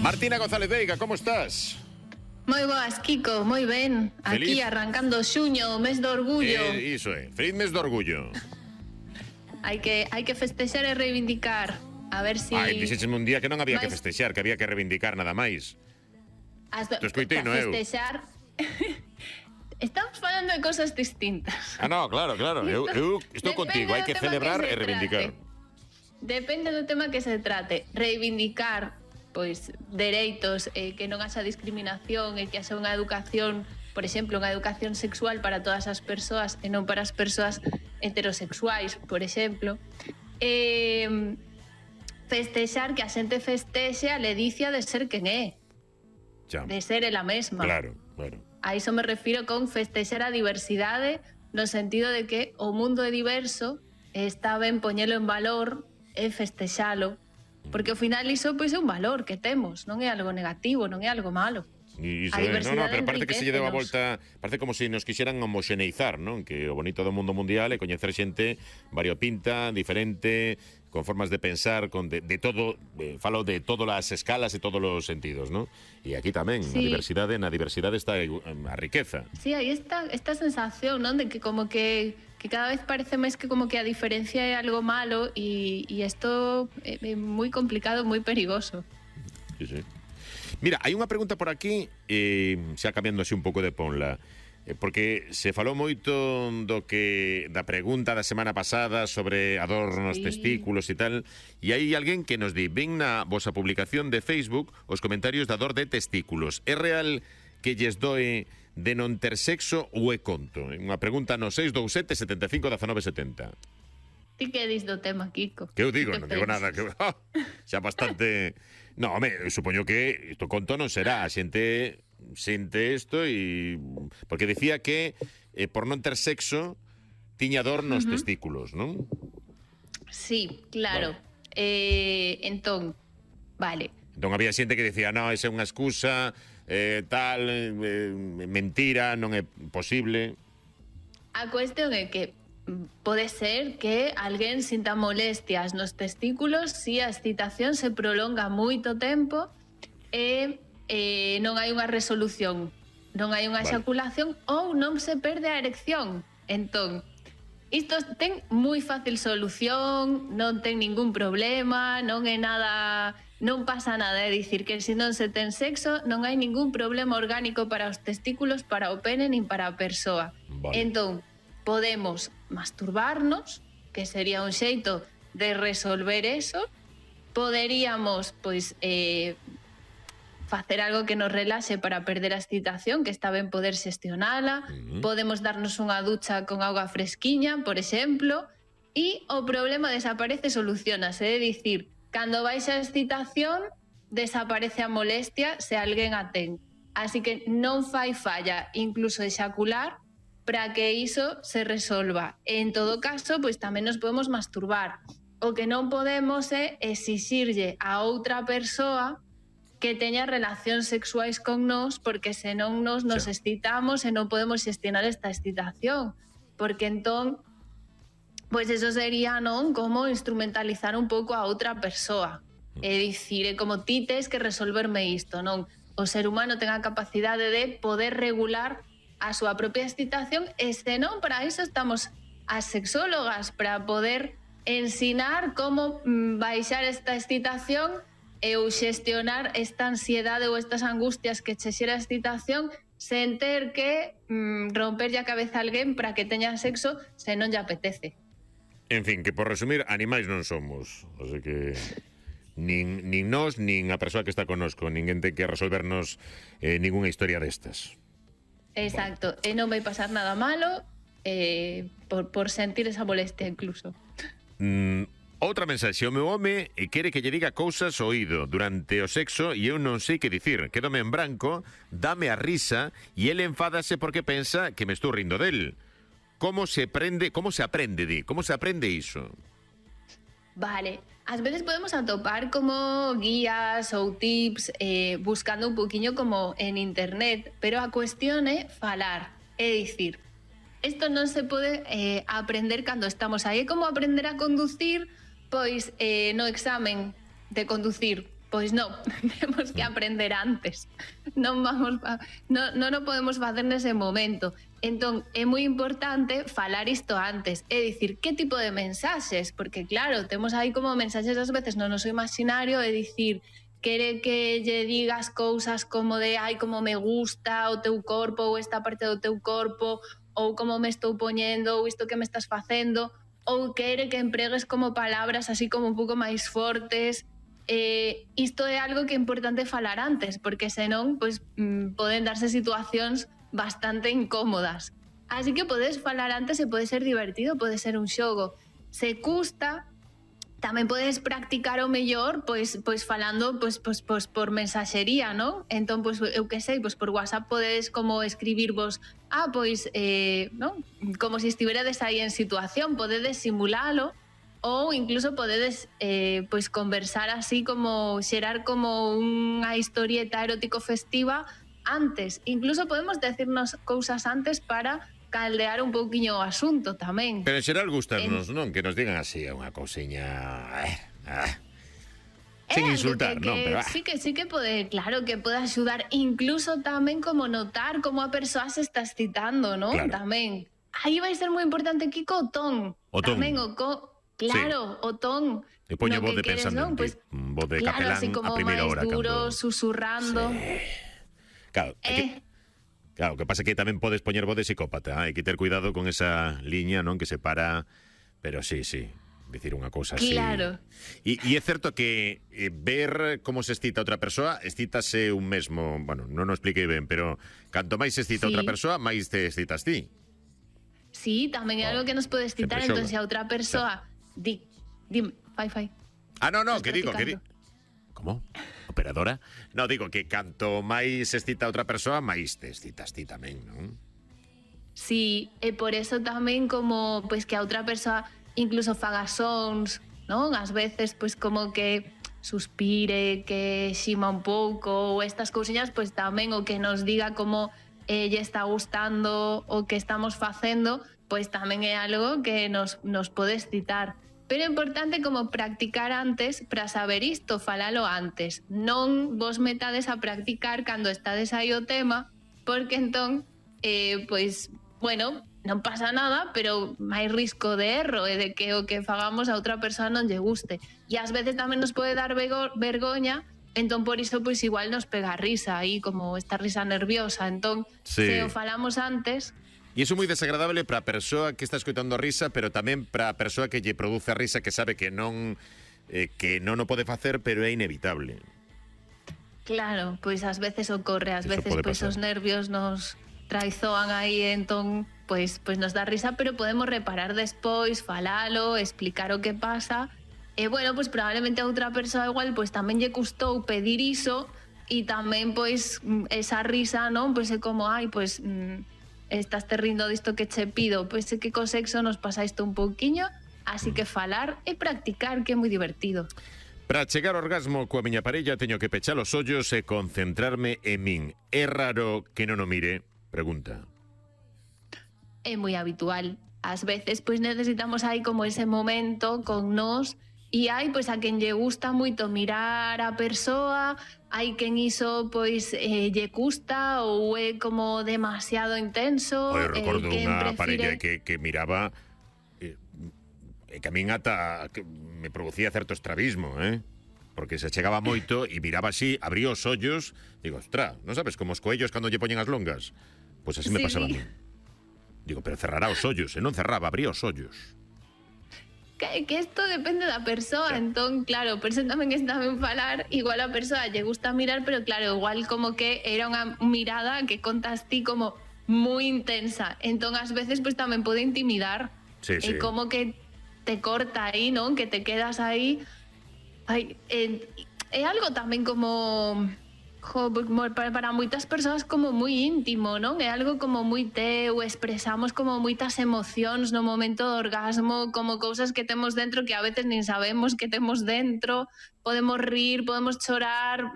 Martina González Veiga, como estás? Moi boas, Kiko, moi ben. Feliz. Aquí arrancando xuño, o mes do orgullo. Iso é, feliz mes do orgullo. Hai que festexar e reivindicar. A ver si... Dixécheme un día que non había que festexar, que había que reivindicar nada máis. Te escoitei, no eu. Festexar... Estamos falando de cosas distintas. No, claro. Eu estou contigo, hai que celebrar e reivindicar. Depende do tema que se trate. Reivindicar, pois, dereitos, que non haxa discriminación e que haxa unha educación, por exemplo, unha educación sexual para todas as persoas e non para as persoas heterosexuais, por exemplo. Festexar, que a xente festexe a ledicia de ser quen é. De ser ela mesma. Claro. A iso me refiro con festexar a diversidade, no sentido de que o mundo é diverso e está ben poñelo en valor e festexalo, porque ao final iso pois é un valor que temos, non é algo negativo, non é algo malo. Iso é, pero parece que se lle deu a volta, parece como se nos quixeran homoxeneizar, non? Que o bonito do mundo mundial é coñecer xente variopinta, diferente, con formas de pensar, de todo, falo de todas as escalas e todos os sentidos, non? E aquí tamén, sí. Na diversidade está a riqueza. Sí, aí está esta sensación, non? De que como que cada vez parece máis que como que a diferencia é algo malo e isto é moi complicado, moi perigoso. Sí. Mira, hai unha pregunta por aquí, xa cambiando así un pouco de ponla, porque se falou moito da pregunta da semana pasada sobre a dor nos testículos e tal, e hai alguén que nos di, ven na vosa publicación de Facebook os comentarios da dor de testículos. É real que lles doe de non ter sexo ou é conto? Unha pregunta no 627 75 19 70. Ti que dis do tema, Kiko? Que eu digo, non digo nada, que xa bastante... No, home, supoño que isto conto non será, a xente sente isto e... Porque decía que por non ter sexo tiña dor nos testículos, non? Sí, claro. Vale. Entón, había xente que decía, no, esa é unha excusa, mentira, non é posible. A cuestión é que pode ser que alguén sinta molestias nos testículos se a excitación se prolonga moito tempo e non hai unha resolución, non hai unha exaculación ou non se perde a erección. Entón, isto ten moi fácil solución, non ten ningún problema, non é nada, non pasa nada, é dicir que se non se ten sexo non hai ningún problema orgánico para os testículos, para o pene nin para a persoa. Entón, podemos masturbarnos, que sería un xeito de resolver eso. Poderíamos, pois, facer algo que nos relaxe para perder a excitación, que está ben poder xestionala. Podemos darnos unha ducha con auga fresquiña, por exemplo, e o problema desaparece, solucionase. É dicir, cando baixa a excitación, desaparece a molestia se alguén a ten. Así que non fai falla incluso exacular para que iso se resolva. En todo caso, pois tamén nos podemos masturbar. O que non podemos é exixirlle a outra persoa que teña relacións sexuais con nós, porque senón nos excitamos e non podemos xestionar esta excitación. Porque entón, pois eso sería, non, como instrumentalizar un pouco a outra persoa. É dicir, é como ti tes que resolverme isto, non? O ser humano ten a capacidade de poder regular a súa propia excitación e senón para iso estamos as sexólogas, para poder ensinar como baixar esta excitación e ou xestionar esta ansiedade ou estas angustias que che xera a excitación sen ter que romperlle a cabeza a alguén para que teña sexo se non lle apetece. En fin, que por resumir, animais non somos, así que nin nós, nin a persoa que está connosco, ninguén ten que resolvernos ninguna historia destas. Exacto, e non vai pasar nada malo por sentir esa molestia incluso. Outra mensaxe, o meu home quere que lle diga cousas ao oído durante o sexo e eu non sei que dicir, quédome en branco, dame a risa e ele enfádase porque pensa que me estou rindo del. Como se aprende iso? Vale, ás veces podemos atopar como guías ou tips buscando un poquinho como en internet, pero a cuestión é falar, é dicir, isto non se pode aprender cando estamos aí, é como aprender a conducir, pois no examen de conducir, Pois non, temos que aprender antes. Non podemos facer nese momento. Entón, é moi importante falar isto antes. É dicir, que tipo de mensaxes? Porque, claro, temos aí como mensaxes ás veces no noso imaginario, é dicir, quere que lle digas cousas como de ai, como me gusta o teu corpo ou esta parte do teu corpo, ou como me estou poñendo, ou isto que me estás facendo, ou quere que empregues como palabras así como un pouco máis fortes. Isto é algo que é importante falar antes, porque senón pois, poden darse situacións bastante incómodas. Así que podes falar antes e pode ser divertido, pode ser un xogo. Se custa, tamén podes practicar o mellor pois falando pois por mensaxería, non? Entón, pois, eu que sei, pois por WhatsApp podes como escribirvos non? Como se estiveredes aí en situación, podedes simulalo, ou incluso podedes pois conversar así como xerar como unha historieta erótico festiva antes. Incluso podemos decirnos cousas antes para caldear un pouquiño o asunto tamén. Pero en xeral gustarnos, non? Que nos digan así unha cousiña... Sin insultar, non? Pero, sí que pode, claro, que pode axudar, incluso tamén como notar como a persoa se está excitando, non? Claro. Tamén. Aí vai ser moi importante, Kiko, o ton. O ton. Tamén claro, sí. O ton. E poñe voz de queres, pensando non? pues, voz de claro, capelán así como a primeira hora. Duro, cando... susurrando. Sí. Claro, claro, que pasa que tamén podes poñer voz de psicópata, hai que ter cuidado con esa liña, non, que separa, pero sí, dicir unha cousa así. Claro. E é certo que ver como se excita outra persoa, excítase un mesmo, bueno, non o expliquei ben, pero canto máis se excita outra persoa, máis te excitas ti. Sí, tamén é algo que nos pode excitar, entón se a outra persoa fai. No, que digo. Como? Operadora? No, digo que canto máis excita a outra persoa, máis te excitas ti tamén, non? Sí, e por eso tamén como pois que a outra persoa incluso faga sons, non? Ás veces pois como que suspire, que xima un pouco, ou estas cousiñas, pois tamén o que nos diga como lle está gustando o que estamos facendo, pois tamén é algo que nos pode excitar. Pero é importante como practicar antes para saber isto, falalo antes. Non vos metades a practicar cando estades aí o tema, porque entón, pois, bueno, non pasa nada, pero máis risco de erro e de que o que fagamos a outra persoa non lle guste. E ás veces tamén nos pode dar vergoña, entón por iso pois igual nos pega a risa aí, como esta risa nerviosa. Entón, se o falamos antes... E iso é moi desagradable para a persoa que está escoitando a risa, pero tamén para a persoa que lle produce a risa, que sabe que non o pode facer, pero é inevitable. Claro, pois ás veces ocorre, ás veces pois os nervios nos traizoan aí, entón pois nos dá risa, pero podemos reparar despois, falalo, explicar o que pasa. E bueno, pois probablemente a outra persoa igual pois tamén lle custou pedir iso, e tamén pois esa risa, non? Pois é como, ai, pois estás te rindo disto que che pido, pois é que co sexo nos pasa isto un pouquiño, así que falar e practicar, que é moi divertido. Para chegar ao orgasmo coa miña parella teño que pechar os ollos e concentrarme en min. É raro que non o mire? Pregunta. É moi habitual. Ás veces pois necesitamos aí como ese momento con nós. E hai pois a quen lle gusta moito mirar a persoa, hai quen iso pois lle custa ou é como demasiado intenso. Eu recordo unha parella que miraba que a min ata que me producía certo estrabismo, porque se chegaba moito e miraba así, abría os ollos, digo, ostra, non sabes como os coellos cando lle poñen as longas? Pois así me pasaba a mí. Digo, pero cerrará os ollos, e non cerraba, abría os ollos. Que isto depende da persoa, entón, claro, por eso tamén está ben falar, igual a persoa lle gusta mirar, pero claro, igual como que era unha mirada que contas ti como moi intensa, entón ás veces pues tamén pode intimidar, sí. Como que te corta aí, non? Que te quedas aí, é algo tamén como... para moitas persoas como moi íntimo, non? É algo como moi teu, expresamos como moitas emocións no momento do orgasmo, como cousas que temos dentro que a veces nin sabemos que temos dentro, podemos rir, podemos chorar,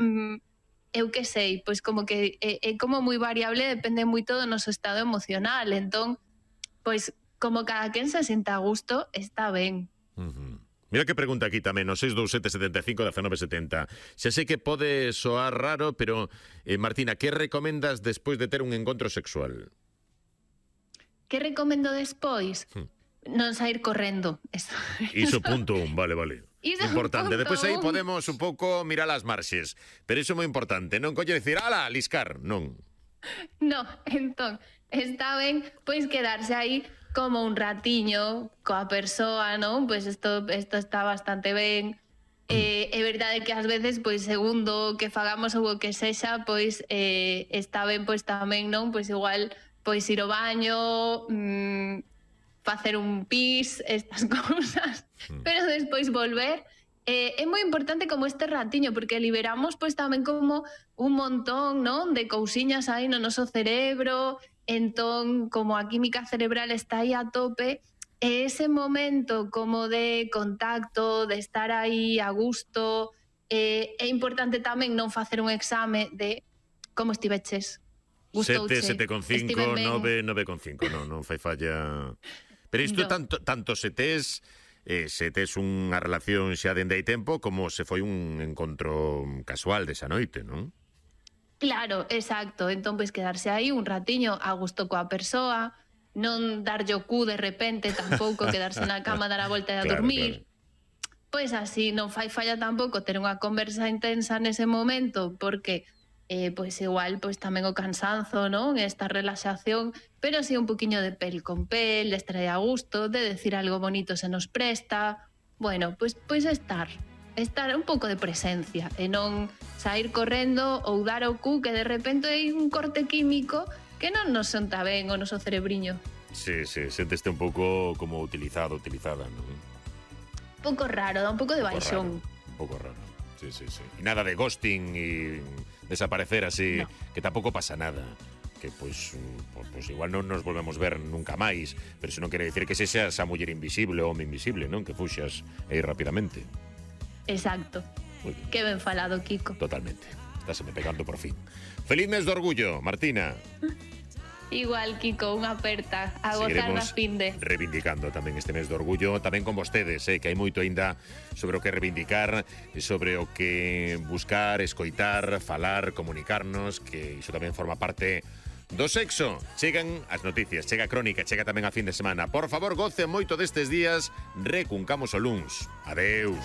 eu que sei, pois como que é como moi variable, depende moito do noso estado emocional, entón, pois como cada quen se sinta a gusto, está ben. Mira que pregunta aquí tamén, no 627 75 19 70. Xa sei que pode soar raro, pero, Martina, que recomendas despois de ter un encontro sexual? Que recomendo despois? Non sair correndo. Iso punto un, vale. Iso Importante. punto Despois aí un. podemos un pouco mirar as marxes. Pero iso é moi importante. Non colle dicir, ala, liscar. Non. No, entón, está ben, pois quedarse aí como un ratiño coa persoa, non? Pois isto está bastante ben. É verdade que ás veces, pois segundo que fagamos ou o que sexa, pois está ben, pois tamén, non? Pois igual, pois ir ao baño, facer un pis, estas cousas, pero despois volver. É moi importante como este ratiño, porque liberamos pois tamén como un montón, non, de cousiñas aí no noso cerebro. Entón, como a química cerebral está aí a tope, ese momento como de contacto, de estar aí a gusto, é importante tamén non facer un exame de como estiveches. 7, 7,5, 9, 9,5. Non fai falla. Pero isto No. tanto se tes unha relación xa dende hai tempo como se foi un encontro casual desa noite, non? Claro, exacto. Entón, pois quedarse aí un ratiño a gusto coa persoa, non darlle o cu de repente, tampouco quedarse na cama, dar a volta e a Claro, dormir. Pois así, non fai falla tampouco ter unha conversa intensa nese momento, porque pois igual pois tamén o cansanzo, non? Esta relaxación, pero si un poquiño de pel con pel, de estar aí a gusto, de decir algo bonito se nos presta. Bueno, pois estar un pouco de presencia e non sair correndo ou dar o cu que de repente hai un corte químico que non nos senta ben o noso cerebriño. Sí, senteste un pouco como utilizada, non? Un pouco raro, dá un pouco de baixón. Un pouco raro. Sí. E nada de ghosting e desaparecer así, No. que tampouco pasa nada. Que pois igual non nos volvemos ver nunca máis, pero iso non quere dicir que sexas a muller invisible ou home invisible, non? Que fuxas aí rapidamente. Exacto. Muy bien. Que ben falado, Kiko. Totalmente. Estáseme pegando por fin. Feliz mes de orgullo, Martina. Igual, Kiko, unha aperta a gozar da finde. Reivindicando tamén este mes de orgullo, tamén con vostedes, que hai moito aínda sobre o que reivindicar, sobre o que buscar, escoitar, falar, comunicarnos, que iso tamén forma parte do sexo. Chegan as noticias, chega a crónica, chega tamén a fin de semana. Por favor, goce moito destes días, recuncamos o luns. Adeus.